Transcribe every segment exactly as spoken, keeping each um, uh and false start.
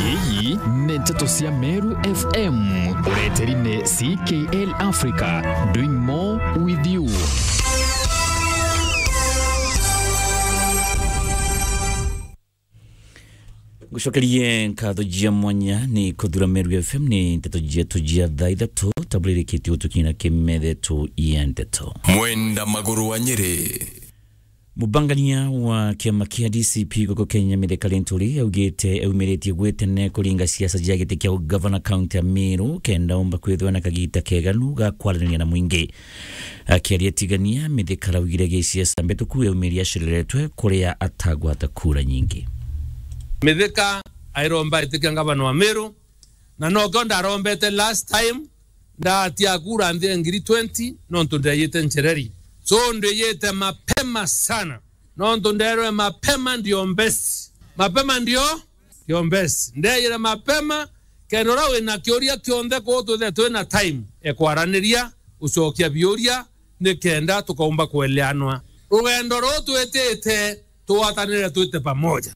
Iyi ni nteto cia Meru F M. Ureteri ni C K L Africa, doing more with you. Ngucokerie nkatho jia mwanya ni kuthura Meru F M ni nteto jietu jia thaa ithatu, tabulirikitie gutukina kimethe tu ya nteto. Mwenda Maguru wa Nyeri. Mubangania wa kiama kia D C P guku Kenya, Mithika Linturi, augite eumiritie gwe tene kuringa siasa cia giti kia ugavana kaunti ya Meru, kenda umba kwithwa na kagita keganu ga kwaraniria na mwingi. Akiaria Tigania, Mithika araugire gisiasa mbituku eumirie aciriretwe kuria atagwata kura nyingi. Mithika airomba itikia ngavana wa Meru, na nokio ndarombete last time, ndatia kura nthi ya ngiri twenty, nontu ndeyite nchereri. So, ndeyite mapema sana, nontu nderwe mapema ndio best. Mapema ndio, ndio best. Ndeyire mapema, kenda uria wina kiuria kionthe, kuu twithe twina time e kwaraniria, ucokia biuria, nikenda tukaumba kueleanwa. Rugendo ruu twitite, tugwatanire twite pamoja.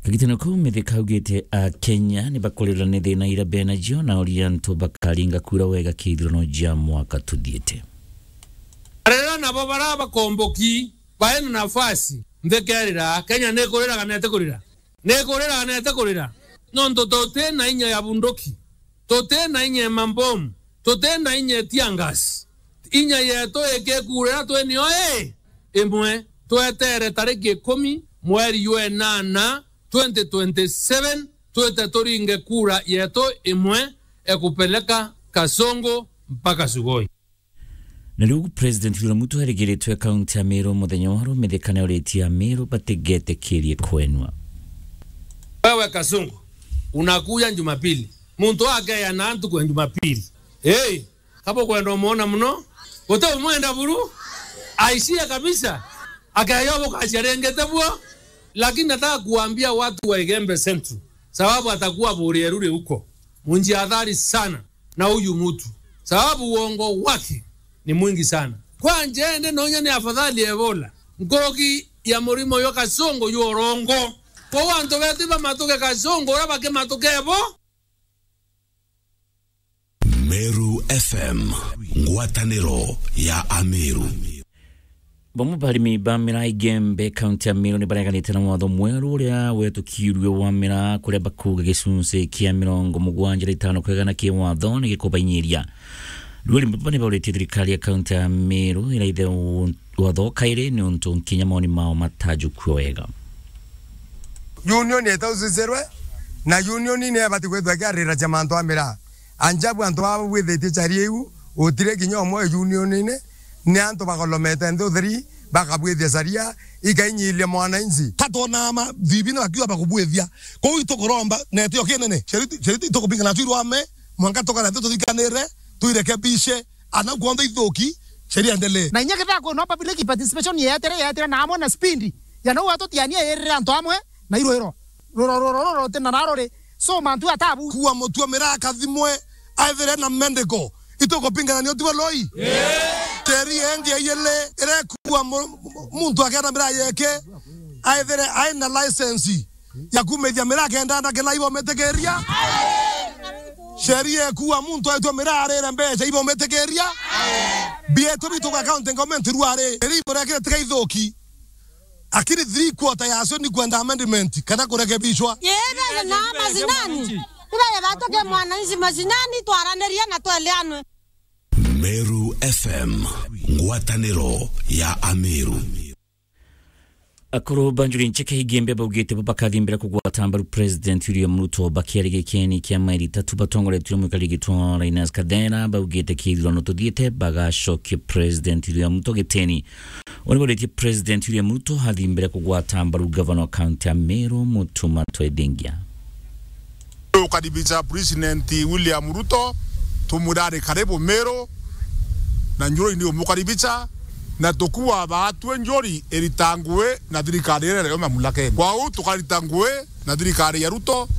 Kagitano kau, Mithika augite Akenya ni bakurirwa ni thina iria bena cio, na uria antu bakaringa kura wega kithurano jia mwaka tuthiite. Arera nabo bara bakomboki, baina nafasi, nthi kerira, Kenya ni kurira kana iti kurira? Ni kurira kana iti kurira? Nontu tuti na inya ya bunduki. Tuti na inya ya mambomu, tuti na inya ya tear gas. Inya yetu ikikurira twi nio ii imwe. Twetere tariki ikumi mweri jwa enana twenty twenty-seven, twite turinge kura yetu imwe ya kupeleka Kasongo mpaka Sugoi. Na riu President William Ruto arigiritwe kaunti ya Meru muthenya wa rumithikane uritie Ameru batigetikirie kwenua. Wewe Kasongo, unakuja Jumapili. Muntu akeya na ntuku ya Jumapili. Hey, kaba ukwenda umuona muno, uteumwenda buru, aishie kabisa. Akeya bukacia rengete buo, lakini nataka kuambia watu wa Igembe Central, sababu atakuwa Burieru huko. Munjihadhari sana na huyu mtu, sababu uongo wake ni mwingi sana. Kwanja ende nonya ni afadhali Ebola nkuruki ya murimo jwa Kasongo jwa urongo. Kwou antu betu bamatuke Kasongo uria bakimatuke bo. Meru F M, ngwataniro ya Ameru. Bamwe ba arimi ba miraa Igembe, kaunti ya Meru, ni bareganite na watho mweru uria wetukirue wa miraa, kuria bakuuga gicunci kia mirongo mugwanja na itano kwegana ki watho ni gikubainyiria. Riu arimi baba ni bauritie thirikari ya kaunti ya Meru iraithe u-, watho kairi, ni untu nkinya moni mao matajukua wega. Union itaucicirwe, na union ni ibati kwithwa ikiarira cia mantu a miraa. Anjabu antu baba bwithitie chari iu, utire kinya umwe union-ini, ni antu bagolomete nthi utheri, bakabwithia caria, ikainyiria mwananchi. Ka twonaa ma-, thibina bakiuga bakubwithia. Kwou itukuromba, na itio kinene. Sheria, sheria itukupinga nacio irwame, mwanka tukara nthi tuthikanire, tuirekebishe, ana kwonda ithuki, sheria endelee. Na inya kethira kwina public participation yeetire, yeetire na amwe na speed, ya nau atutiania irire antu amwe na irwiro. Ruro, ruro, ruro, rutina na ruri. So, mantu atabu. Kuua mutua miraa kathimwe, aithire na medical. Itukupingana ni utibo loi? Teri engi iyele, irekua mu-, mu-, muntu akenda miraa yeke, aithire aina license ya kumithia miraa kenda na kila ibometikiria. Sheria ikuua muntu aitwa miraa arire mbeca ibometikiria. Bietu bitu kwa county government ruari, eri iburekire tiga ithuki. Lakini three quarter yacio ni kwenda amendment kana kurekebishwa. Yeye na mashinani. Ibe batuke mwananchi mashinani, twaranirie na tweleanwe. Meru F M, ngwataniro ya Ameru. Akuru ba Njuri Ncheke Igembe baugite bo bakathimbira kugwata mbaru President William Ruto bakiaria gikeni kia mairi itatu batongoretwe ni mwikari gitwa Linus Kathera, baugite kithurano tuthiite bagacokia President William Ruto giteni. Oni boritie President William Ruto athimbire kugwata mbaru gavana wa kaunti ya Meru, Mutuma Twethingia. Tukaribisha President William Ruto, tumwira ari karibu Meru, na Njuri ni umukaribisha, na tukuwa baatwe Njuri iritangwe na thirikari iria iri mamlakene. Kwou tukarita ngui na thirikari ya Ruto,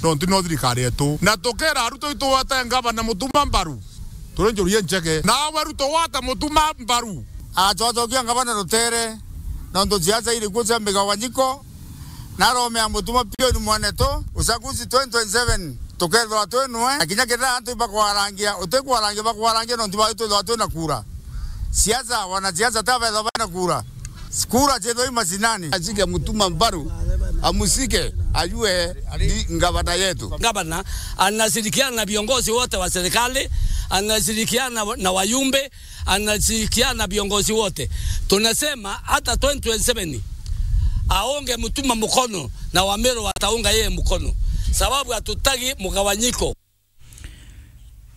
nontu no thirikari yetu. Na tukera Ruto itugwate ngavana Mutuma mbaru. Turi Njuri Incheke. Nawe Ruto gwata Mutuma mbaru. Acocokia ngavana rutere, nontu siasa iri kuo cia migawanyiko, Naromea mutuma piu ni mwanetu, uchaguzi twenty twenty-seven, tukethirwa twi nwe, na kinya kethira antu ibakwarangia, utikwarangia, bakwarangia nontu baitu twithirwa twi na kura. Siasa, wanasiasa ta bethirwa bena kura. Kura ciethirwa i macinani. Ashike mutuma mbaru, amushike, ajue ni ngavana yetu. Gavana anashirikiana na viongozi wote wa serikali, anashirikiana na wajumbe, anashirikiana na viongozi wote. Tunasema hata twenty twenty-seven aunge Mutuma mkono na Wameru wataunga yeye mkono, sababu hatutaki mgawanyiko.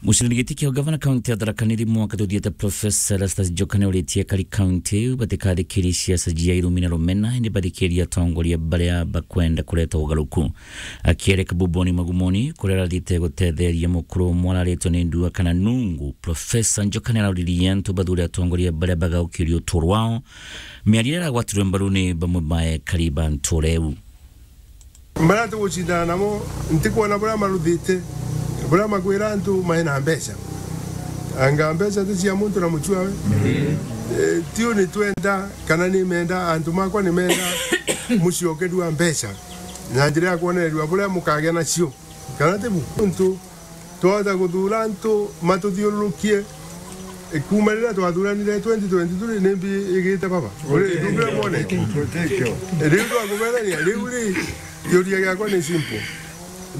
Mucindani giti kia gavana kaunti ya Tharaka Nithi mwaka tuthiite, Profesa Erastus Njoka ni uritie akari kaunti iu batikathikirie siasa cia irumi na rumena, indi bathikirie atongoria baria bakwenda kureta ugaruku. Akiereka Buboni Magumoni, kuria arathite gutetheria mukuru umwe araritwe ni ndua kana nungu, Profesa Njoka ni arauririe antu bathure atongoria baria bagaukirie uturo wao, miario iria iragwatirwe mbaru ni bamwe ba ekari ba ntura iu. Baria tugucindana namo, ntikwona buria maruthite, buria makwira antu mai na mbeca. Anga mbeca ti cia muntu na mucwawe? Eh, tiu ni twenda, kana ni menda, antu makwa ni menda muciokerua mbeca na njira ya kwonererua buria mukagia nacio, kana ti bu? Ntu twahota kuthura antu matuthiururukie, e, kuuma riria twathuranire twenty twenty-three, ni mbi igite baba? Uri, ndungire mwone? Riu twakuberania, riu ri, kiuria giakwa ni simple.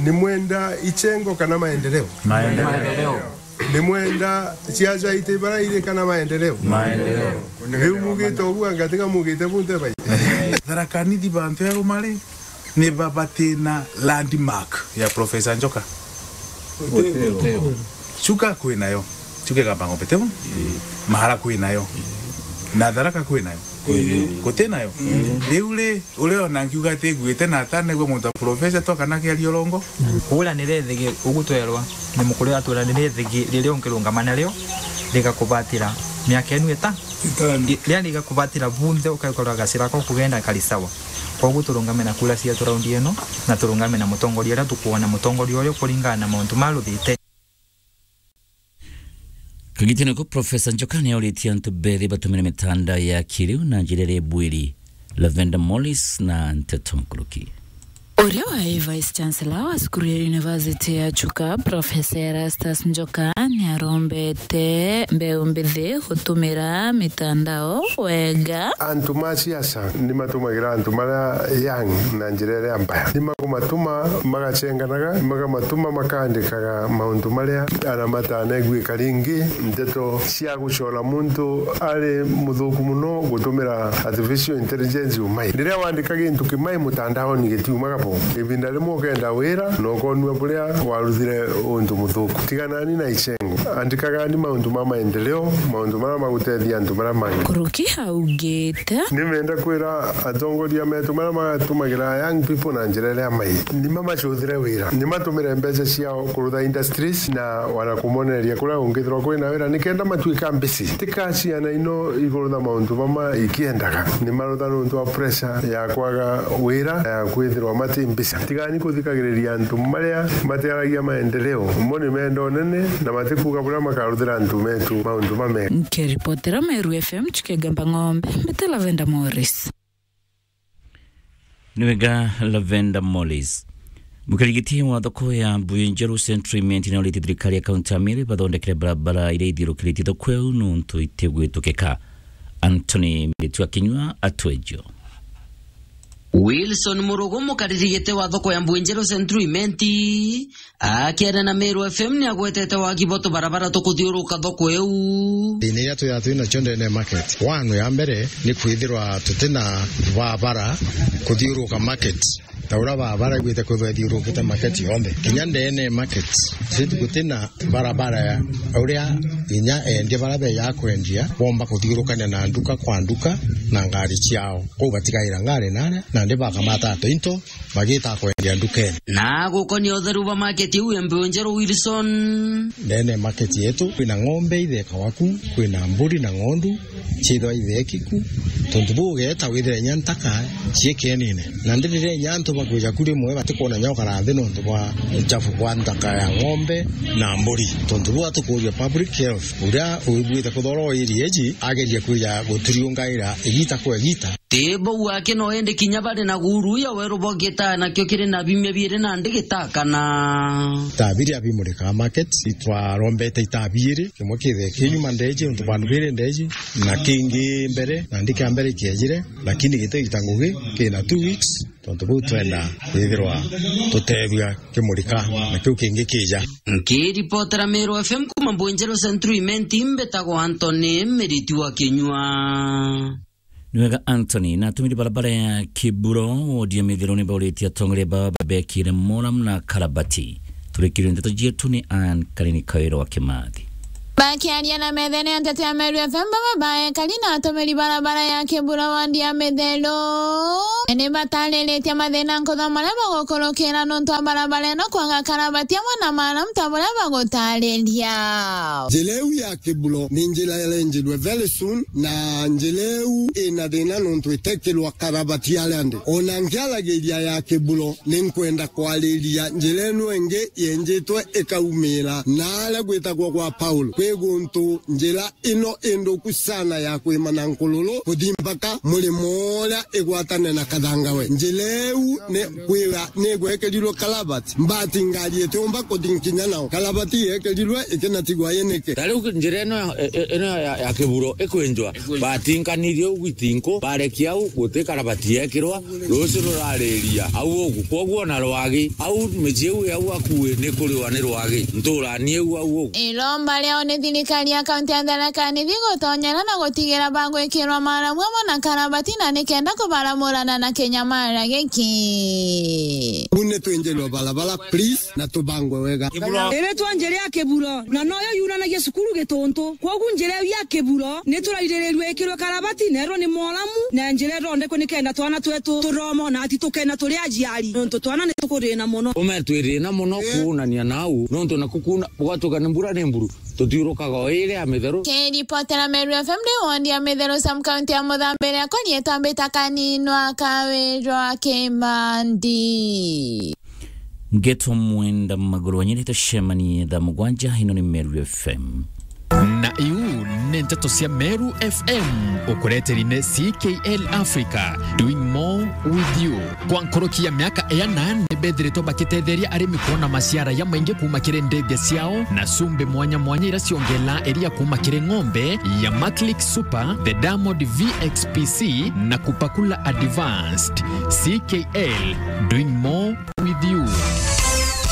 Ni mwenda ichengo kana maendeleo? Maendeleo. Ni mwenda siasa ite bara iri kana maendeleo? Maendeleo. Riu mugite uguo, anga tiga mugite bunte bai? Tharaka Nithi bantu eruma ri, ni ba batina landmark ya Professor Njoka? Uteo. Chuka kwinayo. Chuka Igamba Ng'ombe, tibu? Mahara kwinayo. Na Tharaka kwinayo. Gutinayo. Riu ri, uria ona nkiuga atiguite na atanegua muntu wa professor to kana kiaria urongo. Kuuranira ithigi, ugu twerwa ni mukuru atwira ni ithigi riria ungirungama nario rigakubatira miaka enu ita-, itano. I-, riria rigakubatira bunthe ukaikorwa gacira ko kugenda kari sawa. Koguo turungame na kura cietu raundi ino, na turungame na mutongoria uria tukwona mutongoria uyu kuringana na mauntu maruthite. Kagitene ko Professor Njoka ni auritie antu bethi batumire mitandao ya kiriu na njira iria ibwiri. Lavender Morris na nteto nkuruki. Uria wae Vice Chancellor wa cukuru ya University ya Chuka, Professor Erastus Njoka, ni arombete mbeu mbithi gutumira mitandao wega. Antu ma siasa ni matumagira antu maria young na njira iria mbaya. Ni makumatuma magachenganaga, ni makamatuma makaandikaga mauntu maria ana matanaiguika ringi. Nteto cia gucora muntu ari muthuku muno gutumira artificial intelligence umai. Riria wandika gintu kimai mutandaoni gitiumaga bo. Ibinda rimwe ukenda wira na ukonua buria waruthire untu muthuku. Tiganani na ichengo. Andikagani mauntu ma maendeleo, mauntu maria magutethia antu maria mangi. Nkuruki augite. Nimenda kwira atongoria metu maria magatumagira young people na njira iria mai. Nima macuthire wira. Nimatumire mbeca ciao kurutha industries na wana kumonereria kuria ungithirwa kwina wira nikenda matuika mbisi. Tika ciana ino ikurutha mauntu mama ikiendaga. Nimarutha nontu wa pressure ya kwaga wira, ya kwithirwa mati mbisa. Tigani kuthikagiriria antu maria matiaragia maendeleo. Mo ni menda unene na matikuga buria makaruthira antu metu mauntu mamega. Nkiripotera Meru F M, Chuka Igamba Ng'ombe, mbite Lavender Morris. Ni wega Lavender Morris. Mukirigiti wa thoko ya Mbuyu Njeru Central Imenti ni aurite thirikari ya kaunti ya Meru bathondekere barabara iria ithiurukiritie thoko iu nontu itigwitukika. Anthony Miritu akinyua atwejo. Wilson Murugu, mukariri giti wa thoko ya Mbuyu Njeru Central Imenti, akiaria na Meru F M, ni agwetete wagi bwa tubarabara tukuthiuruka thoko iu. Thina iria twithaa twi nacio ndene ya market, wanu ya mbere ni kwithirwa tutina barabara kuthiuruka market. Ta uria barabara igwite kwithirwa ithiurukite market yonthe. Kinya ndene ya market, gutina barabara ya uria inya endia baria beja kwendia bomba kuthiurukania na nduka kwa nduka na ngari ciao. Kou batigaira ngari naria, nandi bakamata into, bagita kwendia ndukene. Na gukonia utheru bwa market iu ya Mbuyu Njeru, Wilson. Ndene market yetu, kwina ng'ombe ithekawa ku, kwina mburi na ng'ondu, ciithwa itheki ku. Tontu buu ugeeta withire inya ntaka ciikenine. Na ndiriria inya antu Kwija ku rimwe batikwona nyoka na nthi nontu bwa uchafu bwa nthaka ya ng'ombe na mburi. Tontu buu atukuria public health, uria wiguite kuthora o area iji, ageria kwija guturiungaira igita kwa igita. Ti bau aki no indi kinya bari na guru ya weru bwa Gita, nakio kiri na bimia biiri nandi gitakana. Taa biria bimurikaa market, itwarombete itaa biiri, kimwe kithee ki nyuma ndeji, untu bandu biiri ndeji, na kingi mbere, nandi kia mbere kiejire, lakini giti gita ngugi, kina two weeks, tontu buu twenda kwithirwa tutethua kimurika na kiu kingi kija. Nkiripotera Meru F M kuma Mbwenjeru Central Imenti, mbitagwa Anthony Miriti wa Kinyua. Ni wega, Anthony. Na atumiri barabara ya Kiburo, wodi ya Mithiro, ni bauritie atongoria bao babekire moram na karabati. Turikirie ndeto cietu ni Anne Karini Kawira wa Kimathi. Bakiaria na methene ya nteto ya Meru F M, baba baekari na atumiri barabara ya Kiburo, wodi ya Mithiro, ni batariritie mathina nkutha maria bagukurukira nontu wa barabara ino kwaga karabati amwe na maram ta buria bagutariria. Njira iu ya Kiburo ni njira irenjirwe very soon, na njira iu ina thina nontu itekirwa karabati aria ndi. Ona nkiaragiria ya Kiburo, ni nkwenda kwariria njira ino ingi yenjitwe ikaumira na aria gwitagwa gwa Paul. Kwi guntu njira ino induku sana ya kwima na nkururu kuthi mpaka murimo uria igwatane na Kathangawe. Njira iu ni kwira ni igwekirirwe karabati. Mbati ngari itiumba kuthi nkinya nao. Karabati yekirirwe ikinatigwa inike. Ta riu njira ino ya, e-, e-, ino ya, ya Kiburo ikwenjwa, batinkanirie u gwitinku, barekia au guti karabati yekirwa, rucio rurariria au ugu. Kwoguo na rwagi, au micii iu au akui ni kuriwa ni rwagi. Nturani iu au ugu. Iromba riao ni thirikari ya kaunti ya Tharaka Nithi gutonyera na gutigira bagwikirwa maramu amwe na karabati na nikenda kubaramurana na kinyamara giki. Bune twinjirwe barabara, please, na tubangwe wega. Iritwa njira ya Kiburo, na noyo yunanagia cukuru Gituntu. Kwogu njira iu ya Kiburo ni turairirirwe ikirwe karabati, nerwo ni moramu, na njira ithondekwe nikenda twana twetu turoma, na ati tukena turi aciari, nontu twana ni tukurina mono. Ume twirina mono kuunania nau, nontu naku kuna, gwatuka ni mbura ni mburu, tutiurukaga o iri ya Mitheru. Kiripotera Meru F M, ndi wodi ya Mitheru, sub county ya Muthambi, riakwa rietwa mbita Kaninwa Kawirwa Kimandi. Ngeto Mwenda Maguru wanyirite cemanie thaa mugwanja, ino ni Meru F M. Na iu ni nteto cia Meru F M, ukureteri ni C K L Africa, doing more with you. Kwa nkuruki ya miaka iana, ni bethiritwe bakitetheria arimi kwona maciara jamaingi kuuma kiri ndithia ciao, na cumbi mwanya mwanya iria ciongelaa iria kuuma kiri ng'ombe ya Maclick Super, the Diamond V X P C, na Kupakula Advanced. C K L, doing more with you.